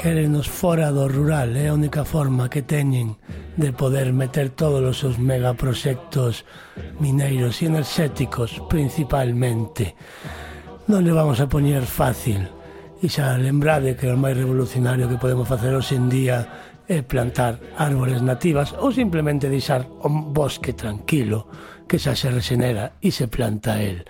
quérenos fora do rural, é a única forma que teñen de poder meter todos os seus megaproxectos mineiros e enerxéticos principalmente. Non le vamos a poñer fácil, e xa lembrade que o máis revolucionario que podemos facer hoxe en día é plantar árbores nativas ou simplemente deixar un bosque tranquilo que xa se regenera e se planta el.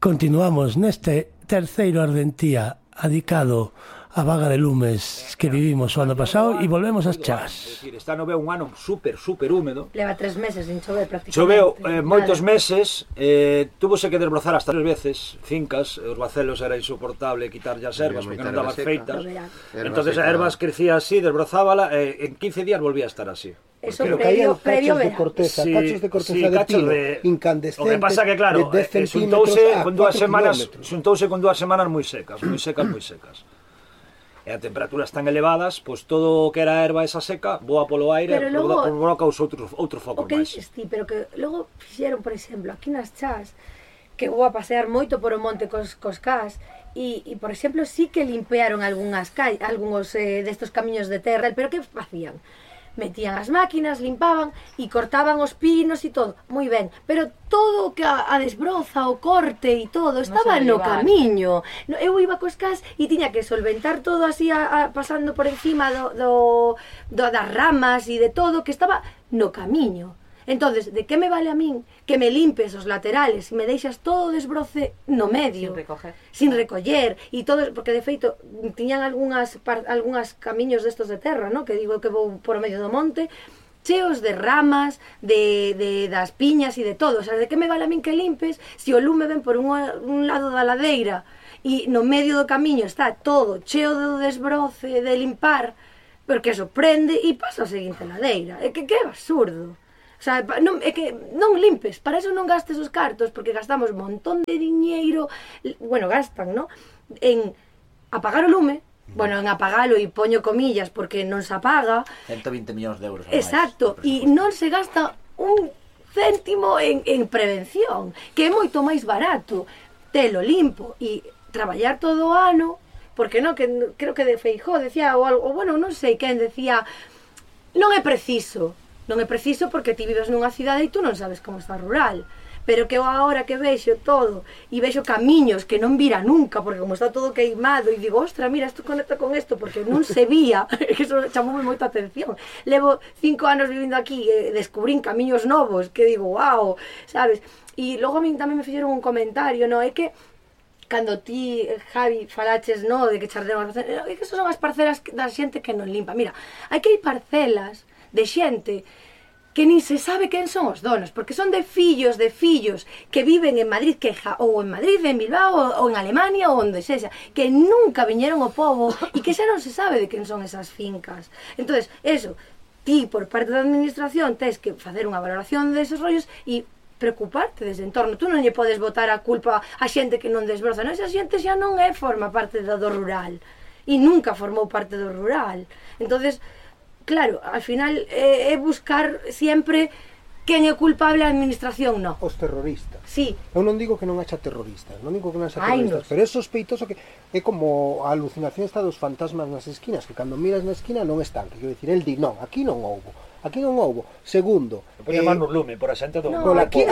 Continuamos neste terceiro Ardentía adicado a vaga de lumes que vivimos o ano pasado e volvemos ás chás. Está no veo un ano super húmedo. Leva 3 meses sin chover prácticamente. Choveu moitos meses, túvose que desbrozar hasta 3 veces fincas, os bacelos era insoportable quitarlle as ervas porque non daban feitas. Entonces as ervas crecía así, desbrozábala e en 15 días volvía a estar así. Eso previo de corteza, sí, cachos de corteza de pino, incandescentes. O que pasa que claro, xuntouse con 2 semanas moi secas. E a temperaturas tan elevadas, pois todo o que era erva esa seca voa polo aire, provoca outros focos máis. O que dices ti, pero que logo fixeron, por exemplo, aquí nas chás, que vou a pasear moito por o monte cos cás, e por exemplo, sí que limpearon algúns destos camiños de terra, pero que facían? Metían as máquinas, limpaban e cortaban os pinos e todo, moi ben, pero todo o que a desbroza, o corte e todo estaba no camiño. Eu iba cos cás e tiña que solventar todo así pasando por encima das ramas e de todo que estaba no camiño. Entonces, de que me vale a min que me limpes os laterales e me deixas todo o desbroce no medio, sin recoller e todo, porque de feito tiñan algunhas camiños destos de terra, no? Que digo que vou por o medio do monte, cheos de ramas, das piñas e de todo. O sea, de que me vale a min que limpes se o lume ven por un lado da ladeira e no medio do camiño está todo cheo de desbroce, de limpar, porque eso prende e pasa a seguinte ladeira. É que é absurdo. O sea, é que non limpes, para eso non gastes os cartos, porque gastamos un montón de diñeiro, bueno, gastan, ¿no? En apagar o lume, bueno, en apagalo e poño comillas porque non se apaga. 120 millóns de euros. Exacto, e non se gasta un céntimo en prevención, que é moito máis barato telo limpo e traballar todo o ano, porque non, que creo que de Feijóo decía, ou bueno, non sei quen decía, non é preciso porque ti vives nunha cidade e tú non sabes como está rural, pero que eu agora que vexo todo e vexo camiños que non vira nunca, porque como está todo queimado e digo, ostra, mira, isto conecta con isto, porque non se vía, que eso chamoume moita atención. Levo 5 anos vivindo aquí e descubrín camiños novos que digo, wow, sabes? E logo a min tamén me fixeron un comentario, no, é que cando ti, Javi, falaches, no, de que chardemos, é que son as parcelas da xente que non limpa. Mira, hai que hai parcelas de xente que nin se sabe quen son os donos, porque son de fillos que viven en Madrid, ou en Madrid, en Bilbao, ou en Alemania, ou onde sexa, que nunca viñeron ao pobo e que xa non se sabe de quen son esas fincas. Entonces, eso, ti, por parte da administración, tens que facer unha valoración deses rollos e preocuparte desde entorno. Tú non lle podes botar a culpa a xente que non desbroza, non? Esa xente xa non forma parte do rural e nunca formou parte do rural. Entonces, claro, al final é buscar sempre quen é culpable, a administración non. Os terroristas. Sí. Eu non digo que non haxa terroristas, pero é sospeitoso que é como a alucinación está dos fantasmas nas esquinas, que cando miras na esquina non están, que quero dicir, el di, non, aquí non houbo. Segundo, poñe man no lume por a xente do aquí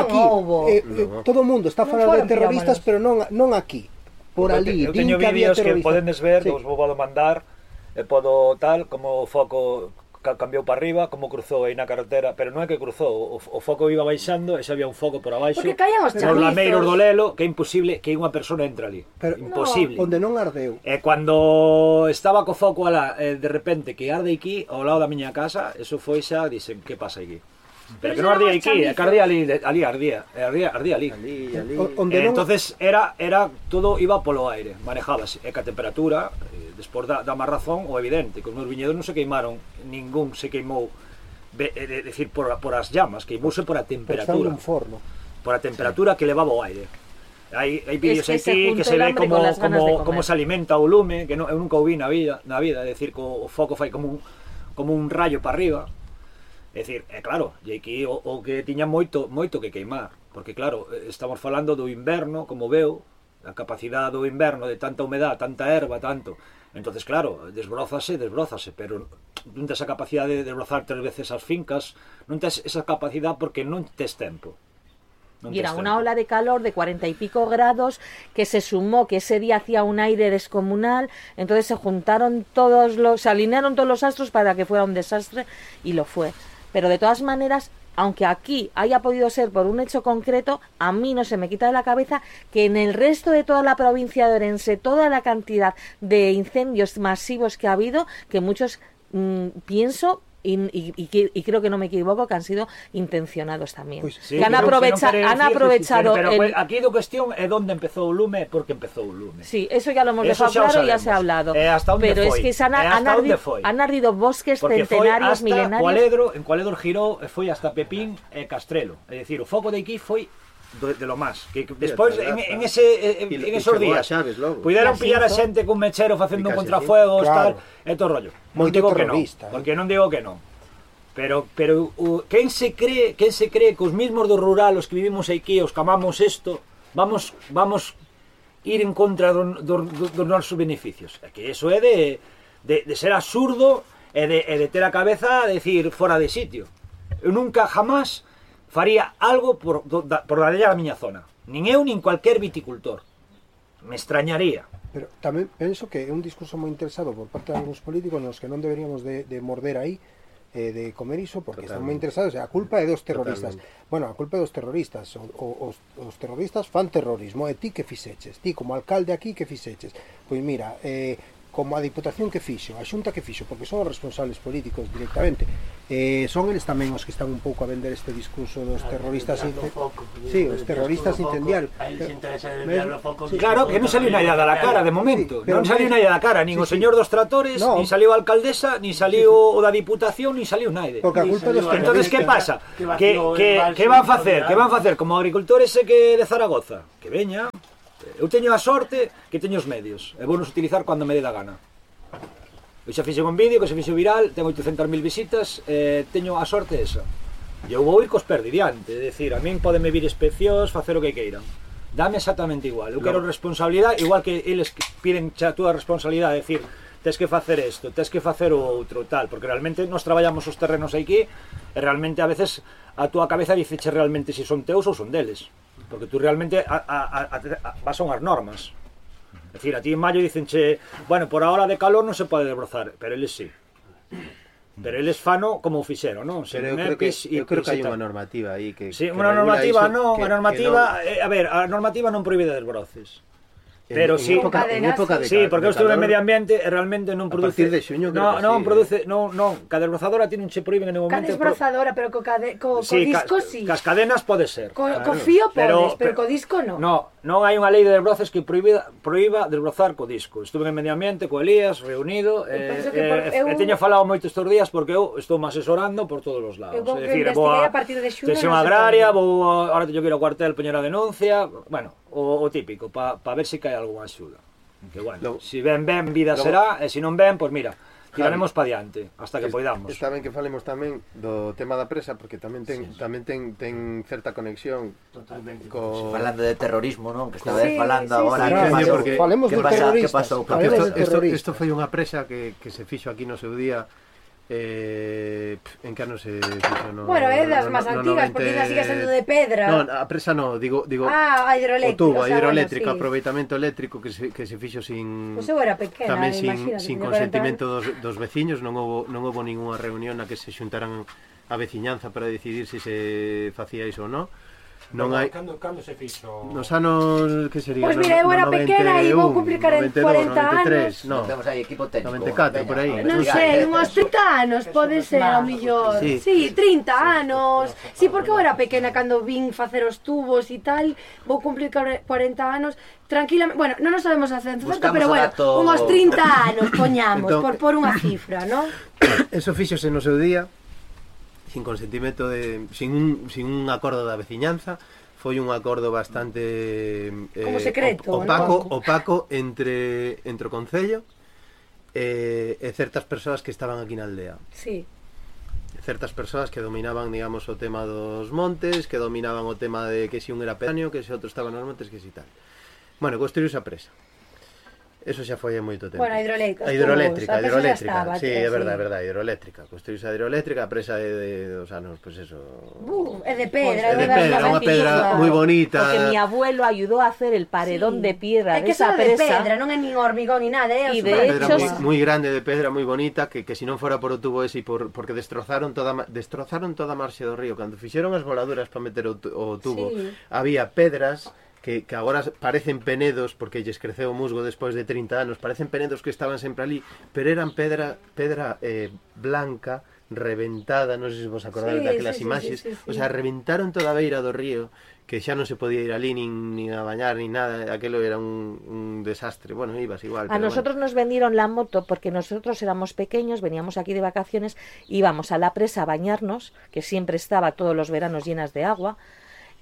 todo o mundo está falando de terroristas, pero non aquí. Por ali, eu teño vídeos que podedes ver, os vou a mandar, e podo tal, como o foco cambiou para arriba, como cruzou aí na carretera, pero non é que cruzou, o foco iba baixando e xa había un foco por abaixo, porque caían os chamizos, nos lameiros do Lelo, que é imposible que unha persona entre ali, imposible. Onde non ardeu. E cando estaba co foco alá, de repente que arde aquí, ao lado da miña casa, eso foi xa, dixen, que pasa aquí? Pero que non ardía aquí, que ardía ali. Entonces era todo iba polo aire, manejábase, e que a temperatura, despois dá máis razón, o evidente, que os meus viñedos non se queimaron, ningún se queimou, decir, por as llamas, queimouse por a temperatura. Por a temperatura que levaba o aire. Hai vídeos aquí que se ve como se alimenta o lume, que eu nunca o vi na vida, é dicir, que o foco fai como un rayo para arriba. É dicir, claro, e aquí o que tiña moito que queimar, porque claro, estamos falando do inverno, como veo, a capacidade do inverno de tanta humedad, tanta erva, tanto, Entonces, claro, desbrózase, pero non tes a capacidade de desbrozar 3 veces as fincas, non tes esa capacidad porque non tes tempo. Y era una ola de calor de 40 y pico grados que se sumó que ese día hacía un aire descomunal, entonces se alinearon todos los astros para que fuera un desastre y lo fue. Pero de todas maneras, aunque aquí haya podido ser por un hecho concreto, a mí no se me quita de la cabeza que en el resto de toda la provincia de Orense, toda la cantidad de incendios masivos que ha habido, que muchos pienso y creo que no me equivoco, que han sido intencionados también. Pues sí, que han aprovechado pero aquí la cuestión es dónde empezó o lume, porque empezó o lume. Sí, eso ya lo hemos dejado claro, ya se ha hablado. Pero es que han ardido bosques porque centenarios, milenarios. En Cualedro girou, foi hasta Pepín e Castrelo. É dicir, o foco de aquí foi de lo más, que despois en esos días puderon pillar a xente cun mechero facendo contrafuegos, tal, e todo rollo. Non digo que non, porque non digo que non. Pero quen se cree que os mismos do rural, os que vivimos aquí, os que amamos isto, vamos ir en contra dos nosos beneficios? É que eso é de ser absurdo e de ter a cabeza a decir fora de sitio. Eu nunca jamás faría algo por dañar a miña zona. Nin eu, nin cualquier viticultor. Me extrañaría. Pero tamén penso que é un discurso moi interesado por parte de algúns políticos nos que non deberíamos de morder aí, de comer iso, porque están moi interesados. A culpa é dos terroristas. Bueno, a culpa é dos terroristas. Os terroristas fan terrorismo. E ti que fixeches? Ti, como alcalde aquí, que fixeches? Pois mira, como a Diputación que fixo, a Xunta que fixo, porque son os responsables políticos directamente, son eles tamén os que están un pouco a vender este discurso dos terroristas os terroristas incendiarios. Claro, que non saliu nada da cara de momento, non saliu nada da cara, nin o señor dos tratores, nin saliu a alcaldesa, nin saliu o da Diputación, nin saliu naide. Porque a culpa dos terroristas. Entonces, que pasa? Que van facer? Que van facer como agricultores que de Zaragoza? Que veña. Eu teño a sorte que teño os medios e vou nos utilizar cando me dé da gana. Eu xa fixen un vídeo que se fixo viral, ten 800.000 visitas, teño a sorte esa. E eu vou ir cos perdi diante, é dicir, a min podeme vir inspeccións, facer o que queiran. Dame exactamente igual, eu quero responsabilidade, igual que eles piden a túa responsabilidade, é dicir, tes que facer isto, tes que facer o outro, tal, porque realmente nos traballamos os terrenos aquí e realmente a veces a túa cabeza diceche realmente se son teus ou son deles. Porque tú realmente vas a unhas normas. É dicir, a ti en maio dicenche, bueno, por a hora de calor non se pode desbrozar, pero eles sí. Pero eles fano como o fixeron, non? Pero eu creo que hai unha normativa aí que sí, unha normativa non, a normativa, a ver, a normativa non prohíbe desbroces. Pero sí, sí, porque eu estuve en medio ambiente e realmente non produce. A partir de xuño creo que non produce, non, ca desbrozadora tiene un che prohíben en un momento. Ca desbrozadora, pero co disco sí. Cas cadenas pode ser. Co fío podes, pero co disco non. Non hai unha lei de desbroces que proíba desbrozar co disco. Estuve en medio ambiente co Elías reunido e teño falado moito estes días porque eu estou me asesorando por todos os lados. É dicir, vou a partir de xuño. Tensión agraria, ahora teño que ir ao cuartel poñer a denuncia, bueno, o típico, para ver se cae algunha axuda. Que bueno, se ven, vida será, e se non ven, pois mira, tiraremos para diante, hasta que poidamos. Está ben que falemos tamén do tema da presa, porque tamén ten certa conexión. Totalmente. Falando de terrorismo, non? Que estaba falando agora. Falemos do terrorista. Que pasou? Isto foi unha presa que se fixo aquí no seu día. En que ano se fixo? Bueno, é das máis antigas, porque ainda sigue sendo de pedra. Non, a presa non, digo a hidroeléctrica, o tubo, a hidroeléctrica, aproveitamento eléctrico que se fixo sin Pois eu era pequena, tamén sin consentimento dos veciños, non houbo ningunha reunión na que se xuntaran a veciñanza para decidir se facía iso ou non. Non hai. Cando se fixo? Nos anos que sería? Pois mira, eu era pequena e vou cumplir 40 anos. Non, temos aí equipo técnico. 94 por aí. Non sei, unhos 30 anos pode ser, ao millor. Sí, 30 anos. Sí, porque eu era pequena cando vin facer os tubos e tal. Vou cumplir 40 anos. Tranquilamente, bueno, non nos sabemos a ciencia certa, pero bueno, unhos 30 anos poñamos, por unha cifra, non? Eso fíxose no seu día. Sin consentimento sin un acordo da veciñanza, foi un acordo bastante como secreto, opaco entre o concello e certas persoas que estaban aquí na aldea. Sí. Certas persoas que dominaban, digamos, o tema dos montes, que dominaban o tema de que si un era pedáneo, que se outro estaba nos montes, que si tal. Bueno, construíuse a presa. Eso xa foi hai moito tempo. Bueno, a hidroeléctrica. A hidroeléctrica, a hidroeléctrica. estaba, Sí, é sí. verdade, hidroeléctrica. Construíse a hidroeléctrica, a presa dos anos, pois eso. É de pedra, É de pedra, unha pedra moi bonita. Porque mi abuelo ayudó a hacer el paredón de piedra É de que esa eso é de presa. pedra, non é nin hormigón ni nada, é Y super de Pedra hecho, moi grande de pedra, moi bonita, que se non fora por o tubo ese porque destrozaron toda a marxe do río. Cando fixeron as voladuras para meter o tubo, Sí. había pedras que agora parecen penedos, porque lles creceu o musgo despois de 30 anos, parecen penedos que estaban sempre ali, pero eran pedra blanca, reventada, non sei se vos acordades daquelas imaxes, o sea, reventaron toda a beira do río, que xa non se podía ir ali nin a bañar, nin nada, aquelo era un desastre. Bueno, ibas igual. A nosotros nos vendieron la moto porque nosotros éramos pequeños, veníamos aquí de vacaciones, íbamos a la presa a bañarnos, que siempre estaba todos los veranos llenas de agua,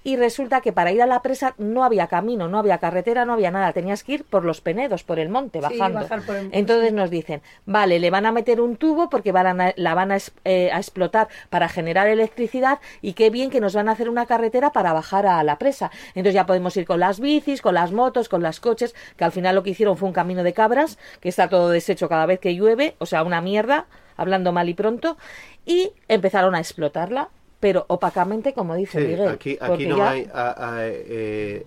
y resulta que para ir a la presa no había camino, no había carretera, no había nada, tenías que ir por los penedos, por el monte, bajando. bajar por el... Entonces nos dicen, vale, le van a meter un tubo porque la van a explotar para generar electricidad, y qué bien que nos van a hacer una carretera para bajar a la presa. Entonces ya podemos ir con las bicis, con las motos, con los coches, que al final lo que hicieron fue un camino de cabras, que está todo deshecho cada vez que llueve, o sea, una mierda, hablando mal y pronto, y empezaron a explotarla. Pero opacamente, como dice Miguel. Aquí non hai a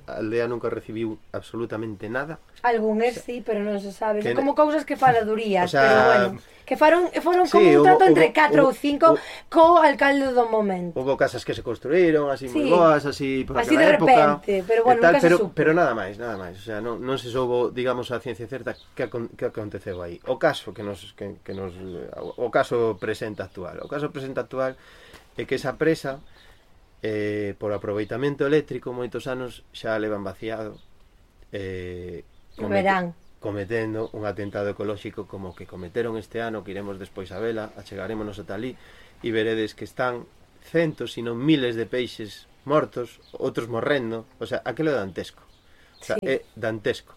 aldea nunca recibiu absolutamente nada. Algúnes sí, pero non se sabe. Que... Como cousas que faladurías, o sea, pero bueno, que foron sí, como un trato entre 4 ou 5 co alcalde do momento. Houve casas que se construíron así moi Sí. boas, así por Así aquela de época, repente, pero bueno, tal, nunca se supo. pero nada máis, o sea, non se soubo, digamos, a ciencia certa que aconteceu aí. O caso o caso presente actual. O caso presente actual é que esa presa por aproveitamento eléctrico moitos anos xa levan vaciado cometendo un atentado ecolóxico como que cometeron este ano, que iremos despois a vela, achegarémonos ata ali e veredes que están centos, sino miles de peixes mortos, outros morrendo, o sea, aquilo é dantesco, o sea, é dantesco.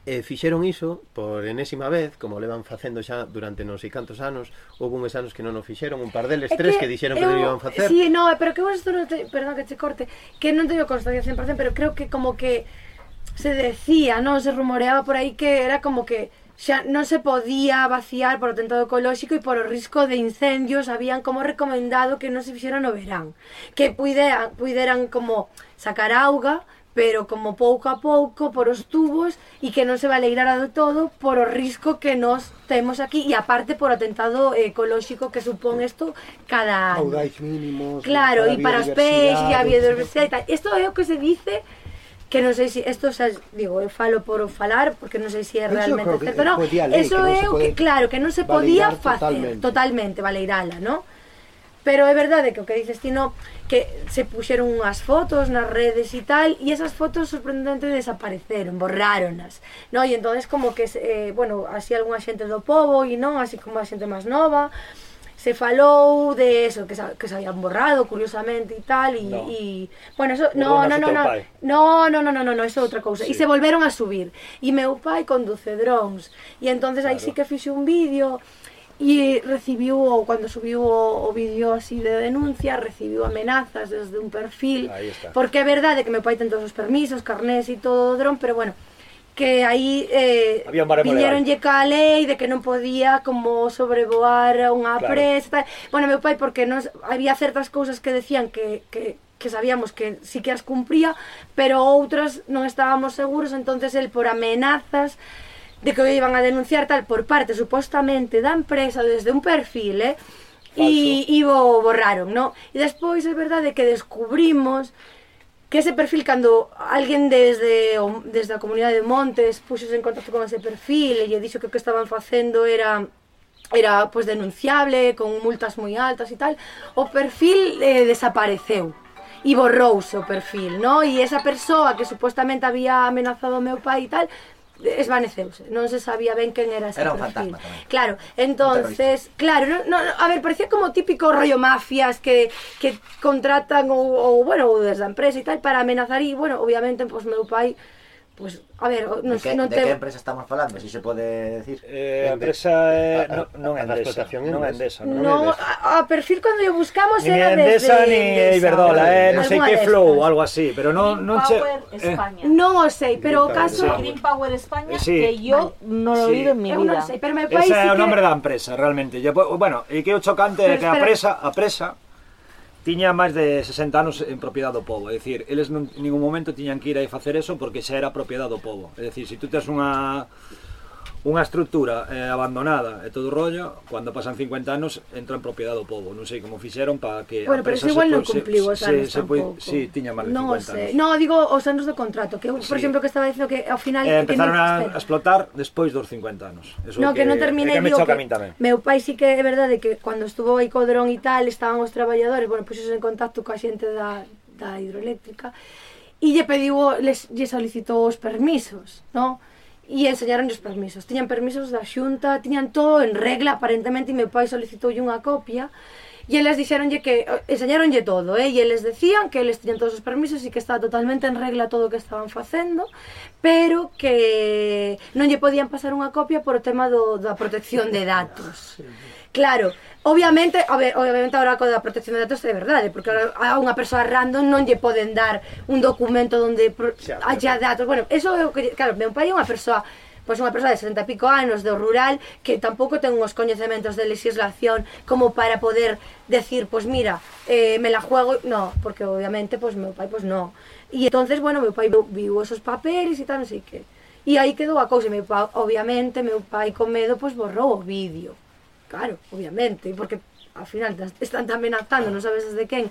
Fixeron iso por enésima vez, como levan facendo xa durante non sei cantos anos. Houve uns anos que non o fixeron, un par deles, tres que dixeron que non iban facer. Sí, no, pero que isto non te, perdón que te corte, que non teño constancia 100%, pero creo que como que se decía, non, se rumoreaba por aí que era como que xa non se podía vaciar por o atentado ecolóxico e por o risco de incendios, habían como recomendado que non se fixera no verán, que puideran como sacar auga, pero como pouco a pouco por os tubos, e que non se baleirara do todo por o risco que nos temos aquí, e aparte por o atentado ecolóxico que supón isto cada ano. Caudais mínimos, claro, e para os peixes e a biodiversidade e tal. Isto é o que se dice, que non sei se isto xa digo, eu falo por falar porque non sei se é realmente certo, non. Eso é o que, claro, que non se podía facer totalmente baleirala, non? Pero é verdade que o que dices ti, no, que se puxeron unhas fotos nas redes e tal, e esas fotos sorprendentemente desapareceron, borráronas, no? E entonces como que, bueno, así algunha xente do pobo, e non, así como a xente máis nova, se falou de eso, que se habían borrado, curiosamente, e tal, e bueno, eso, no, eso é outra cousa, e se volveron a subir, e meu pai conduce drones, e entonces aí sí que fixe un vídeo, e recibiu, ou cando subiu o vídeo así de denuncia, recibiu amenazas desde un perfil, porque é verdade que meu pai ten todos os permisos, carnés e todo o dron, pero bueno, que aí viñeronlle ca lei de que non podía como sobrevoar unha presa, tal. Bueno, meu pai, porque non, había certas cousas que decían que sabíamos que sí que as cumpría, pero outras non estábamos seguros, entonces el por amenazas de que o iban a denunciar tal por parte supostamente da empresa desde un perfil, e o borraron, no? E despois é verdade que descubrimos que ese perfil, cando alguén desde a comunidade de Montes puxose en contacto con ese perfil e lle dixo que o que estaban facendo era pues denunciable, con multas moi altas e tal, o perfil desapareceu e borrouse o perfil, no? E esa persoa que supostamente había amenazado ao meu pai e tal, esvaneceuse, non se sabía ben quen era ese perfil. Era un fantasma tamén. Claro, entonces, claro, a ver, parecía como típico rollo mafias que contratan ou bueno, desde a empresa e tal para amenazar, e bueno, obviamente, pois meu pai Pues, a ver, ¿De qué empresa estamos falando? Si se pode decir. A empresa non é Endesa. Non é Endesa. No, a perfil cando yo buscamos Ni era Endesa desde ni Iberdrola, non sei que Flow ou algo así, pero non che... Power España. Non o sei, pero o caso... Green Power España, Sí. que yo no lo he oído en mi Eu non vida. sei, pero meu pai sí Ese é o que... nombre da empresa, realmente. Bueno, e que o chocante é Pero que a espera. presa tiña máis de 60 anos en propiedade do pobo, é dicir, eles en ningún momento tiñan que ir aí facer eso porque xa era propiedade do pobo. É dicir, se tú tes unha estructura abandonada e todo o rollo, cando pasan 50 anos entra en propiedade do pobo. Non sei como fixeron para que Bueno, pero eso igual non cumpliu os anos tampouco. Sí, tiña máis de Non o 50 sei. anos. Non, digo os anos do contrato, que eu, por exemplo, que estaba dicindo que ao final... Empezaron a explotar despois dos 50 anos. Eso No, que non terminei, que me digo choca a que min tamén. meu pai sí que é verdade que cando estuvo aí co dron e tal, estaban os traballadores, bueno, puxos en contacto coa xente da hidroeléctrica e lle solicitou os permisos, no? E enseñaron os permisos. Tiñan permisos da Xunta, tiñan todo en regla, aparentemente, e meu pai solicitoulle unha copia e eles dixeronlle que enseñaronlle todo, e eles decían que eles tiñan todos os permisos e que estaba totalmente en regla todo o que estaban facendo, pero que non lle podían pasar unha copia por o tema da protección de datos. Claro, obviamente ahora co da protección de datos é verdade, porque a unha persoa random non lle poden dar un documento onde haya datos. Bueno, eso é o que, claro, meu pai é unha persoa de 60 e pico anos do rural que tampouco ten uns coñecementos de legislación como para poder decir, pues mira, me la juego, no, porque obviamente pues meu pai pues no. E entonces, bueno, meu pai viu esos papeles e tal, non sei que. E aí quedou a cousa, obviamente meu pai con medo pues borrou o vídeo. Claro, obviamente, porque ao final están amenazando, non sabes desde quen.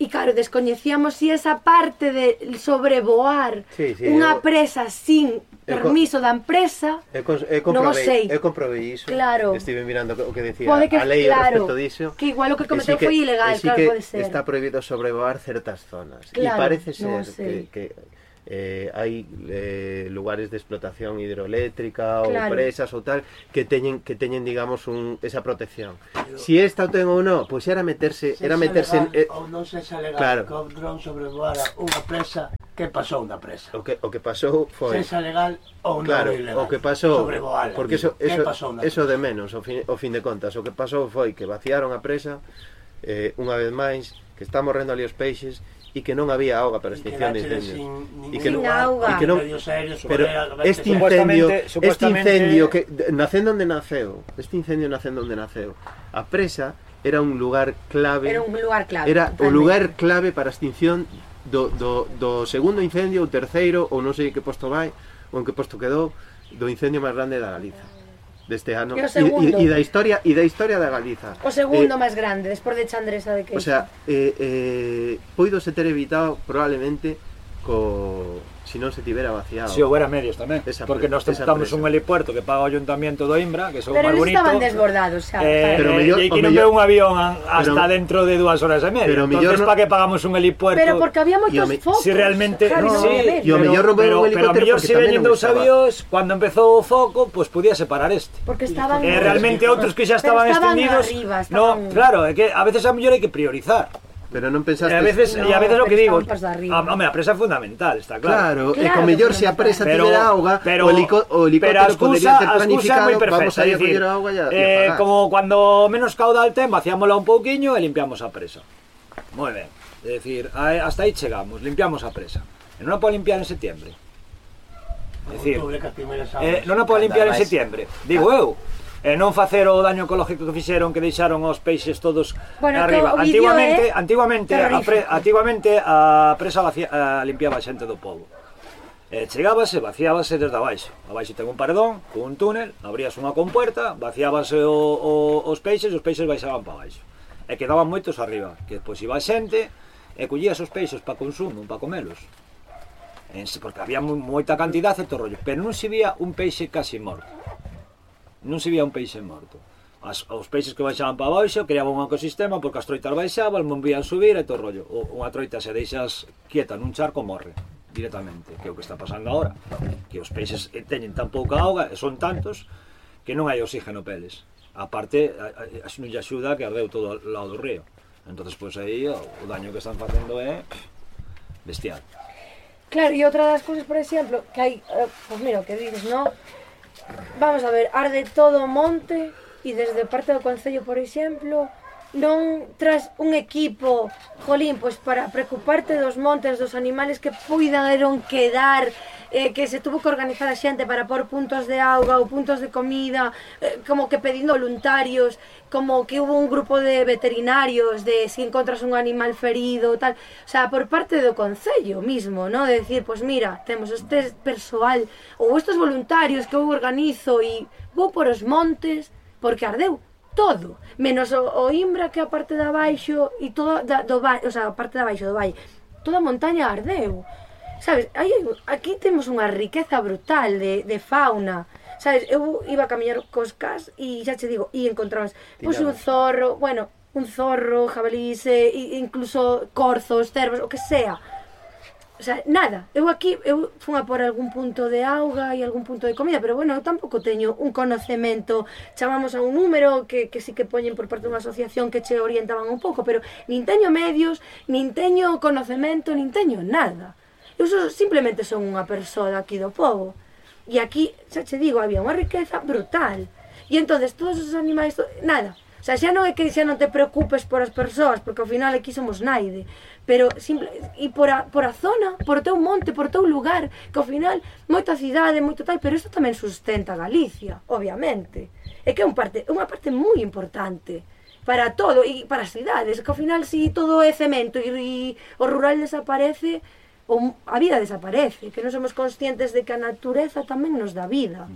E claro, descoñecíamos si esa parte de sobrevoar unha presa sin permiso da empresa, non o sei. Eu comprobei iso, claro. Estive mirando o que decía Pode que, a lei claro, respecto diso. Que igual o que cometeu foi ilegal, claro, pode ser. Está prohibido sobrevoar certas zonas. E Claro, parece ser que hai lugares de explotación hidroeléctrica ou claro. presas ou tal que teñen digamos esa protección. Si esta o ten ou non, pois era meterse ou non se xa legal, claro. que o dron sobrevoara unha presa, que pasou na presa? O que pasou foi Se xa legal ou non claro, ilegal. o que pasou, sobrevoala, porque que pasou na eso de menos, ao fin de contas, o que pasou foi que vaciaron a presa unha vez máis, que está morrendo ali os peixes e que non había auga para extinción de incendios. E que non, pero este incendio que nacendo onde naceu, a presa era un lugar clave. Era o lugar clave para a extinción do segundo incendio, o terceiro, ou non sei que posto vai, ou en que posto quedou, do incendio máis grande da Galiza deste ano e da historia da Galiza. O segundo máis grande, despois de Chandresa de Queixo. O sea, poidose ter evitado probablemente si non se tivera vaciado. Si houbera medios tamén, porque nós tentamos un helipuerto que paga o Ayuntamiento do Imbra, que son máis bonito. Pero estaban desbordados, xa. E que non veo un avión hasta dentro de 2 horas e media. Entonces, para que pagamos un helipuerto? Pero porque había moitos focos. Si realmente, e o mellor non veo un helicóptero, pero mellor se veñen dous avións, cando empezou o foco, pois podía separar este. Porque estaban realmente outros que xa estaban extendidos. No, claro, é que a veces a mellor hai que priorizar. Pero non pensaste... E a veces o que digo, a presa é fundamental, está claro. Claro, e con mellor se a presa tivera auga, o helicóptero podería ter planificado, vamos a ir a coller auga e apagar. Como cando menos caudal ten, vaciámola un pouquiño e limpiamos a presa. Moi ben, é dicir, hasta aí chegamos, limpiamos a presa. E non a pode limpiar en setiembre. É dicir, non a pode limpiar en setiembre, digo eu. E non facer o daño ecológico que fixeron, que deixaron os peixes todos arriba. Antigamente a presa limpiaba a xente do pobo. Chegábase, vaciábase desde abaixo. Abaixo ten un paredón, con un túnel, abrías unha compuerta, vaciábase os peixes baixaban para abaixo. E quedaban moitos arriba, que depois iba a xente e collías os peixes para consumo, para comelos. Porque había moita cantidad e todo rollo, pero non se vía un peixe casi morto. Non se vía un peixe morto. Os peixes que baixaban para baixo creaban un ecosistema porque as troitas baixaban, non vían subir e todo rollo. Unha troita se deixas quieta nun charco morre directamente, que é o que está pasando agora, que os peixes teñen tan pouca auga e son tantos que non hai oxígeno peles. A parte, non lle axuda que ardeu todo ao lado do río. Entonces, pois aí o daño que están facendo é bestial. Claro, e outra das cousas, por exemplo, que hai, pois mira, o que dices, non? Vamos a ver, arde todo o monte e desde parte do Concello, por exemplo, non tras un equipo, jolín, pois para preocuparte dos montes, dos animales que puidaron quedar, que se tuvo que organizar a xente para pôr puntos de auga ou puntos de comida, como que pedindo voluntarios, como que hubo un grupo de veterinarios de si encontras un animal ferido, tal, o sea, por parte do Concello mismo, ¿no? De decir, pues mira, temos este persoal ou estes voluntarios que eu organizo e vou por os montes porque ardeu todo, menos o Imbra, que a parte de abaixo e todo do valle, o sea, a parte de abaixo do valle, toda a montaña ardeu. Sabes, aquí temos unha riqueza brutal de fauna. Sabes, eu iba a camiñar cos cas e xa che digo, e encontrabas pois un zorro, bueno, un zorro, jabalís, incluso corzos, cervos, o que sea. O sea, nada, eu fun a por algún punto de auga e algún punto de comida, pero bueno, eu tampouco teño un conocemento, chamamos a un número que sí que poñen por parte dunha asociación que che orientaban un pouco, pero nin teño medios, nin teño conocemento, nin teño nada. Eu simplemente son unha persoa daqui do pobo, e aquí, xa che digo, había unha riqueza brutal, e entonces todos os animais, nada. O sea, xa non é que xa non te preocupes por as persoas, porque ao final aquí somos naide, pero e por a zona, por o teu monte, por o teu lugar, que ao final moita cidade, moito tal, pero isto tamén sustenta Galicia, obviamente. É que é unha parte moi importante para todo e para as cidades, que ao final si todo é cemento e o rural desaparece, a vida desaparece, que non somos conscientes de que a natureza tamén nos dá vida.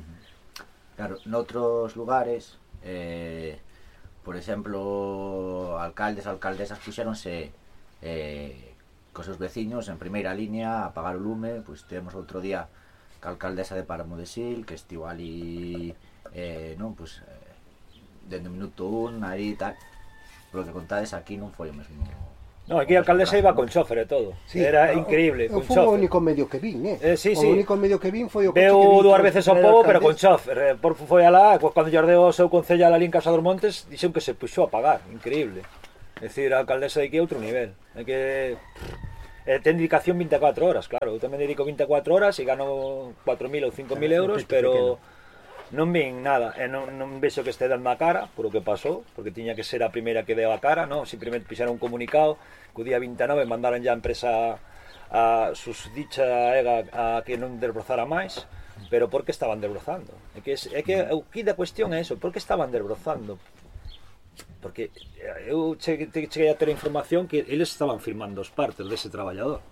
Claro, noutros lugares, por exemplo, alcaldesas puxéronse cos seus veciños en primeira línea a apagar o lume. Pois tivemos outro día que a alcaldesa de Páramo de Sil, que estivo ali non, pois, dende o minuto 1 aí e tal. Pero que contades aquí non foi o mesmo. No, aquí a alcaldesa iba con chofer e todo. Sí, era increíble, con chofer. Foi o único medio que vin, sí. O único medio que vin foi o coche que vin. Veu dúas veces ao pobo, pero con chofer. Foi alá, cando lle ardeu o seu concellal ali en Casa dos Montes, dixen que se puxou a pagar, increíble. É dicir, a alcaldesa de aquí é outro nivel. É que ten dedicación 24 horas, claro. Eu tamén dedico 24 horas e gano 4.000 ou 5.000 euros, pero non vin nada, non vexo que este dando a cara por o que pasou, porque tiña que ser a primeira que deu a cara, non? Simplemente fixeron un comunicado que o día 29 mandaran ya a empresa a susdicha a que non desbrozara máis, pero por que estaban desbrozando? É que o que da cuestión é eso, por que estaban desbrozando? Porque eu cheguei a ter a información que eles estaban firmando os partes dese traballador.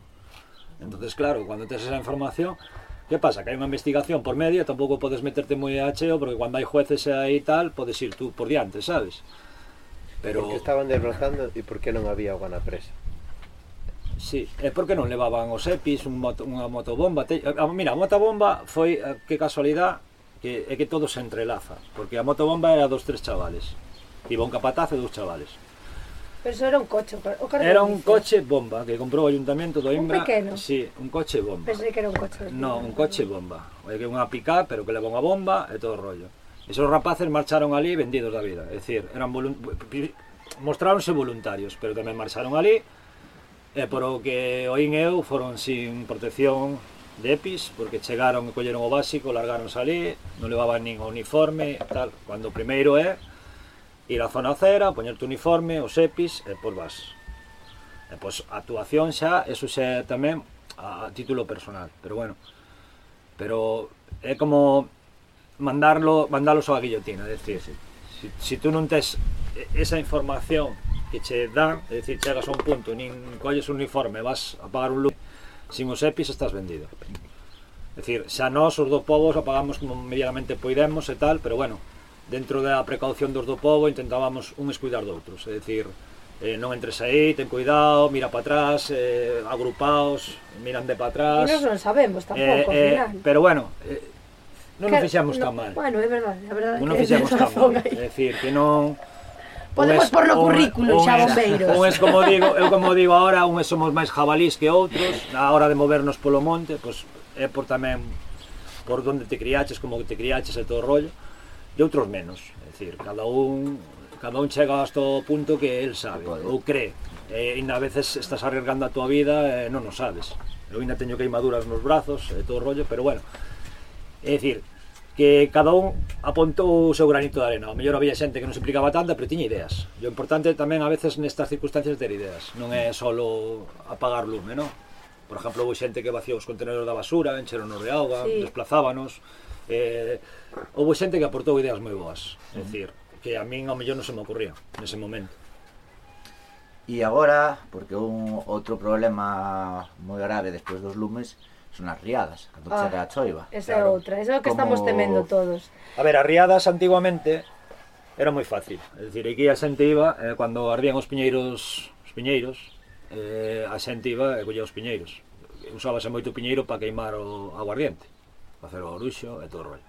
Entonces, claro, cando tes esa información, que pasa? Que hai unha investigación por medio, tampouco podes meterte moi a cheo, porque cando hai jueces aí e tal, podes ir tú por diante, sabes? Pero... Porque estaban desbrozando e por que non había auga na presa? Sí, é porque non levaban os EPIs, unha motobomba. Mira, a motobomba foi, que casualidade, é que todo se entrelaza, porque a motobomba era dos 3 chavales, iba un capataz e 2 chavales. Pero eso era un coche, era un coche bomba que comprou o Ayuntamiento do Imbra. Un pequeno? Sí, un coche bomba. Pensei que era un coche. No, un coche bomba. É que unha pick-up, pero que leva unha bomba e todo o rollo. Esos rapaces marcharon ali vendidos da vida. É dicir, mostráronse voluntarios, pero tamén marcharon ali. E por o que oín eu, foron sin protección de EPIs, porque chegaron e colleron o básico, largáronse ali, non levaban nin uniforme, tal. Cando o primeiro é ir á zona cera, poñerte o uniforme, os EPIs, e pois vas. E pois a actuación xa, eso xa tamén a título personal, pero bueno. Pero é como mandalos á guillotina, é dicir, si tú non tes esa información que che dan, é dicir, chegas a un punto, nin colles un uniforme, vas a pagar un lume, sin os EPIs estás vendido. É dicir, xa nós, os do povos, apagamos como medianamente poidemos e tal, pero bueno, dentro da precaución dos do povo intentábamos uns cuidar de outros, é dicir, non entres aí, ten cuidado, mira para atrás, agrupaos, miran de para atrás. E nós non sabemos tampouco, ao final. Pero bueno, non nos fixemos tan mal. Bueno, é verdade, a verdade. Non nos fixemos tan mal, é dicir, que non... Podemos por no currículo xa bombeiros. Como digo agora, uns somos máis jabalís que outros, na hora de movernos polo monte, pois é por tamén por onde te criaches, como te criaches e todo o rollo. E outros menos, é dicir, cada un chega hasta o punto que el sabe ou cree, e a veces estás arriesgando a tua vida e non o sabes. Eu ainda teño queimaduras nos brazos e todo o rollo, pero bueno, é dicir, que cada un apontou o seu granito de arena. O mellor había xente que non se implicaba tanta, pero tiña ideas. E o importante tamén a veces nestas circunstancias ter ideas, non é solo apagar lume, non? Por exemplo, houve xente que vació os contenedores da basura, encheronos de auga, sí, desplazábanos. Houve xente que aportou ideas moi boas, é dicir, que a min ao mellor non se me ocurría nese momento. E agora, porque un outro problema moi grave despois dos lumes son as riadas, cando chega a choiva. Esa é outra, esa é o que estamos temendo todos. A ver, as riadas antiguamente era moi fácil, é dicir, aquí a xente iba, cando ardían os piñeiros, a xente iba e collía os piñeiros. Usábase moito piñeiro para queimar o aguardiente, para hacer o oruxo e todo o rollo.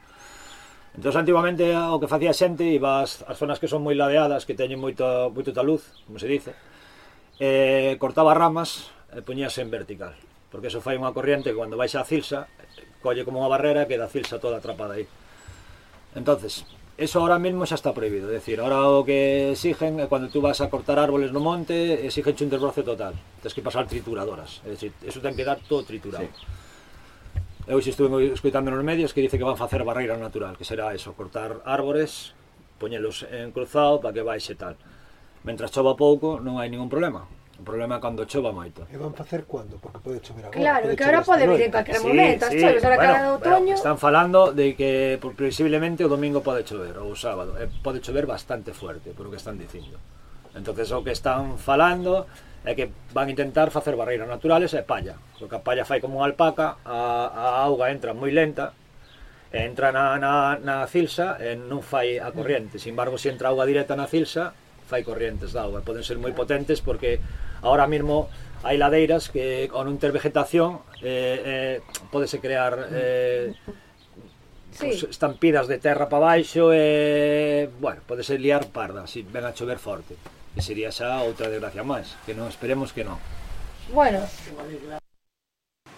Entón, antiguamente, o que facía a xente iba ás zonas que son moi ladeadas, que teñen moita luz, como se dice, cortaba ramas e poñíase en vertical, porque eso fai unha corriente que cando baixa a cilsa colle como unha barrera e queda a cilsa toda atrapada aí. Entonces, eso ahora mesmo xa está prohibido, é dicir, ahora o que exigen é cando tú vas a cortar árboles no monte, exigen un desbroce total, tens que pasar trituradoras, é dicir, eso ten que dar todo triturado. Sí. Eu xe estuve escoitando nos medios que dice que van facer barreira natural, que será eso, cortar árbores, poñelos en cruzado para que baixe tal. Mentras chova pouco non hai ningún problema. O problema é cando chova moito. E van facer cando? Porque pode chover agora. Claro, que agora pode vir en calquera momento, as choves, ahora cara do outoño. Están falando de que previsiblemente o domingo pode chover, ou o sábado, pode chover bastante fuerte, por o que están dicindo. Entonces o que están falando é que van intentar facer barreiras naturales e palla, porque a palla fai como unha alpaca, a auga entra moi lenta, entra na cilsa e non fai a corriente. Sin embargo, se entra auga directa na cilsa, fai corrientes de auga, poden ser moi potentes porque ahora mesmo hai ladeiras que con non ter vegetación podese crear pues, estampidas de terra para baixo e, bueno, podese liar parda se ven a chover forte, que sería xa outra desgracia máis, que non esperemos que non. Bueno,